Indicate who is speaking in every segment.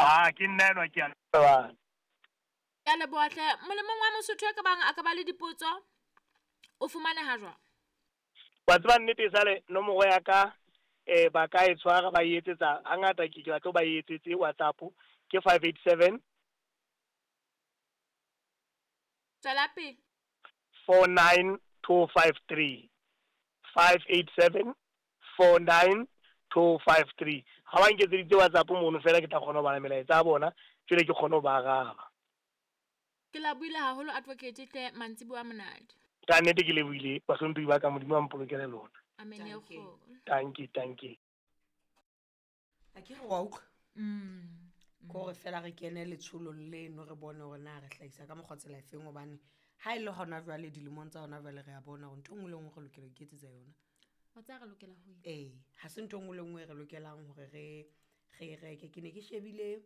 Speaker 1: Ah, ke nna enwa ke a leboha.
Speaker 2: Ke a leboha hle. Molemong wa Mosotho e ka bang a ka ba le dipotso, o fumaneha jwang?
Speaker 1: Wa tseba nnete esale nomoro ya ka ba ka e tshwara ba e etsetsa hangata ke ke batla ba e etsetse WhatsApp ke 587
Speaker 2: Tswela pele.
Speaker 1: 49253 587 49253. Ha ba nketseditse WhatsApp mono fela ke tla kgona ho bala melaetsa ya bona jwale ke kgone ho ba araba.
Speaker 2: Ke lebohile haholo Advocate hle mantsiboya a monate.
Speaker 1: Ka nnete ke lebohile bahlomphehi ba ka Modimo a mpolokele lona.
Speaker 2: Amen e
Speaker 3: Dankie.
Speaker 2: kgolo.
Speaker 1: Dankie, dankie.
Speaker 3: A ke re wa utlwa ke gore fela re kene letsholong leno re bone gore na re hlahisa ka mokgwa tsela efeng gobane ha e le gona jwale dilemong tsa gona jwale re a bona gore ntho e nngwe le nngwe re lokela ho iketsetsa yona.
Speaker 2: Wa tseba re lokela ho eng?
Speaker 3: Ee, ha se ntho e nngwe le nngwe e re lokelang hore re re e reke. Ke ne ke shebile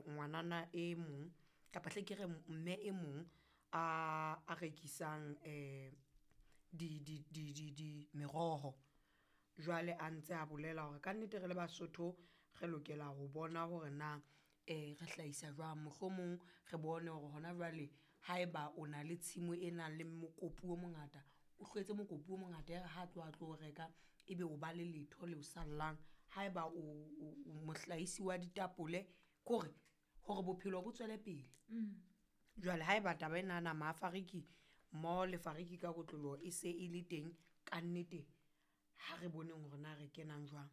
Speaker 3: ngwanana e mong kapa hle ke re mme e mong a rekisang di di di di di meroho. Jwale a ntse a bolela hore kannete re le Basotho re lokela ho bona hore na re hlahisa jwang. Mohlomong re bone hore hona jwale haeba o na le tshimo e nang le mokopu o mongata, o hlwetse mokopu o mongata ya re ha tloha a tlo reka ebe o ba le letho leo sallang. Haeba o mohlahisi wa ditapole kore hore bophelo bo tswele pele. Jwale haeba taba enana mafariki mmoho le fariki ka kotloloho e se e le teng kannete, ha re boneng hore na re kenang jwang.